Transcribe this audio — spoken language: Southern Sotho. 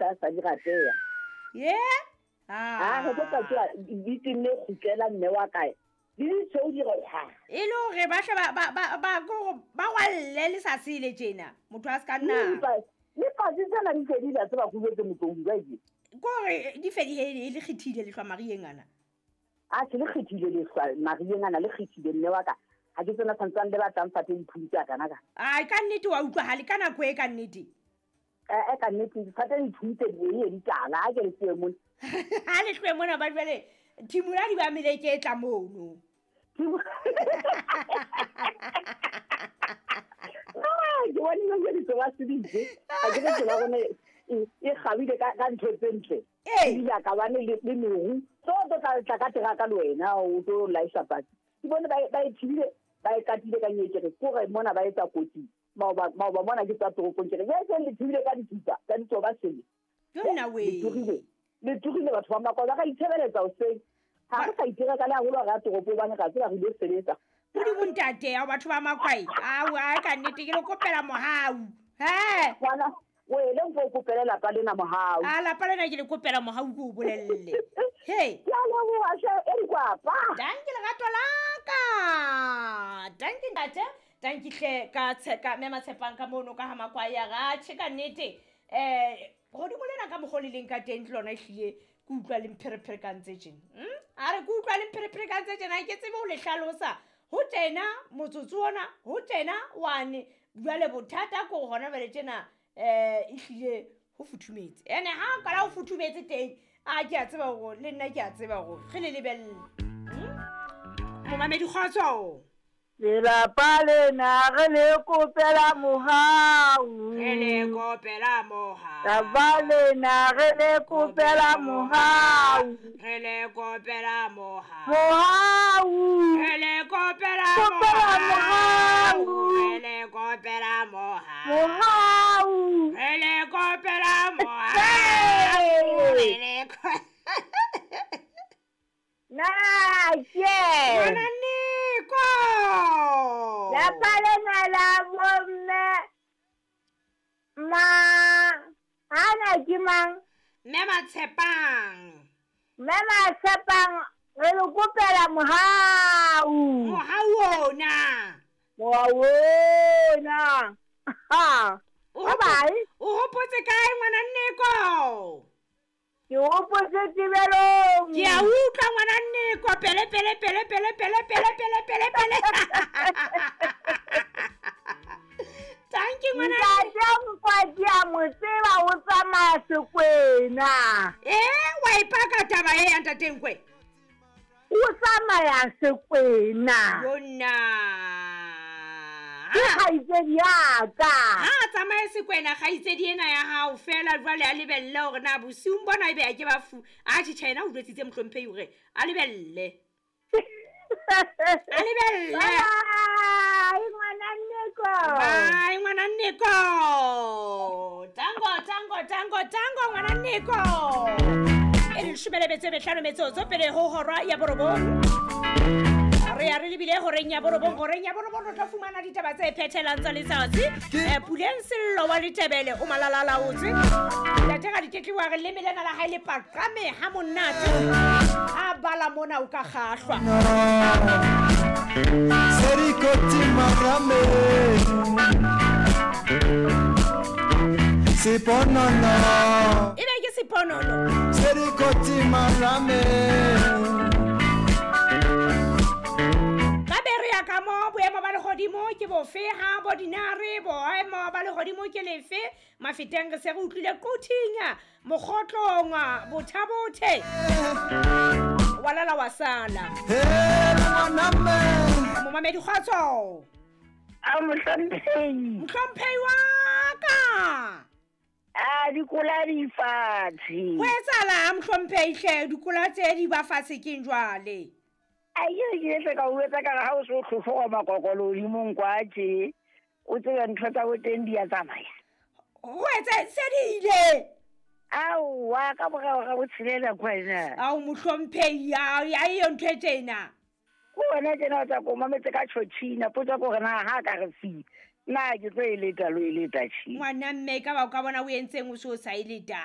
sa sa di rateya. Ye? A re tlo tla tsoa di tenne kgutlela mme wa kae. Di di tshweu di re hwa. E le hore ba hle ba ba ba ba ko ba rwalle le sa sele tjena. Motho a se ka nna. Le patsi tsena di fedile a tseba go betse motlong jwa ke. Ko hore di fedile e le kgethile lehlwa marieng ana. A se le kgethile lehlwa marieng ana le kgethile mme wa ka. Ha ke tsena santsane le batlang fate diphuntse a kana ka. Ai ka nnete wa utlwahale ka nako e ka nnete. Eh ka nnete fate diphuntse di e di tala ha ke le tlohe mona. Ha le tlohe mona ba jwale thimola di ba mele ke tla mono. Ke bone le ke ditso ba seditse. Ha ke re tsela rona e kgabile ka ntho tse ntle. Ebile a ka bane le meru. So tlo tla ka teraka le wena o tlo laisha patsi. Ke bone ba e thibile ba e katile ka nyekere kore mona ba etsa kotsi. Maoba mona ke tswa toropong ke re ye seng le thibile ka dithupa tsa ditso ba sele. Yona we. Le tlohile batho ba Makola ka itshebeletsa hoseng. Ha re sa itira ka le haholo re ya toropo hobane ra tseba re ile sebetsa. Modimo ntate ya batho ba Makwai. Au a ka nnete ke le kopela mohau. He. Ngwana o ele o kopele lapa lena mohau. A lapa lena ke le kopela mohau ke o bolelle. He. Ke a leboha hle e re kwapa. Danki lerato la ka. Danki ntate. Danki hle ka tsheka mme Matshepang ka mono ka ha Makwai ya ra tjhe ka nnete. Godimo lena ka mokgwa le leng ka teng ke lona ehlile ke utlwa le mpherephere ka ntse tjena. A re ke utlwa le mpherephere ka ntse tjena ke tsebe ho le hlalosa. Ho tena motsotso ona, ho tena wane. Jwale bothata ke hore hona jwale tjena ehlile ho futhumetse. Ene ha o kala ho futhumetse teng, a ke a tseba hore le nna ke a tseba hore re le lebelle. Momamedi kgotso. Lelapa lena re le kopela mohau. Re le kopela mohau. Lelapa lena re le kopela mohau. Re le kopela mohau. Mohau. Re le kopela mohau. Re le kopela mohau. Mohau. Re le kopela mohau. Re le Na ke. Ngwana Niko. Lapa lena la bomme. Ma hana ke mang? Mme Matshepang. Mme Matshepang re le kopela mohau. Mohau ona. Mohau ona. Ha. O hopotse kae ngwana Niko? Ke hopotse tebelong. Ke a utlwa ngwana Niko pele pele pele pele pele pele pele pele pele. Thank you ngwana. Ntate Nkwadi a mo tseba o tsamaya sekwena. Wa ipaka taba e ya ntate Nkwe. O tsamaya sekwena. Yona. Ke kgaitsedi ya ka. Ha tsamaye sekwena kgaitsedi ena ya hao fela jwale a lebelle hore na bosiung bona ebe a ke ba fu. A tjhe yena o jwetsitse mohlomphehi hore a lebelle. A lebelle. Bye ngwana Niko. Bye ngwana Niko. Tango tango tango tango ngwana Niko. E leshome le metso e mehlano metsotso pele ho hora ya borobong. Re ya re lebile horeng ya borobong, horeng ya borobong re tla fumana ditaba tse phethelang tsa letsatsi. Puleng Sello wa Letebele o malalalaotse. Ntate ga ditetliwa re leme lena la hae le paqame ha monate. A bala mona o ka kgahlwa. Serikoti marame. Seponono. Ebe ke seponono. Serikoti marame. Ka mo boemo ba lehodimo ke bofe ha bo dinare boemo ba lehodimo ke lefe mafeteng re se re utlwile Quthing Mokgotlong Bothabothe wa lala wa sala momamedi kgotso. A mohlomphehi. Mohlomphehi wa ka. A dikola di fatshe. Ho etsahala mohlomphehi hle dikola tse di ba fatshe keng jwale? A ye ke ka o etsa ka ha o so tlhotlhoga makokolo hodimong kwa tje o tsebe ntho tsa bo teng di a tsamaya. Ho etsa se di ile. Aowa ka morao ga botshelela kwena. Ao mohlomphehi a eyo ntho e tjena. Ko wena tjena o tsa ko mametse ka tjhotjhina potsa ko re na ha ka re fi. Na ke tlo e leta lo e leta tjhe. Ngwana mme ka ba o ka bona o entseng o so sa e leta.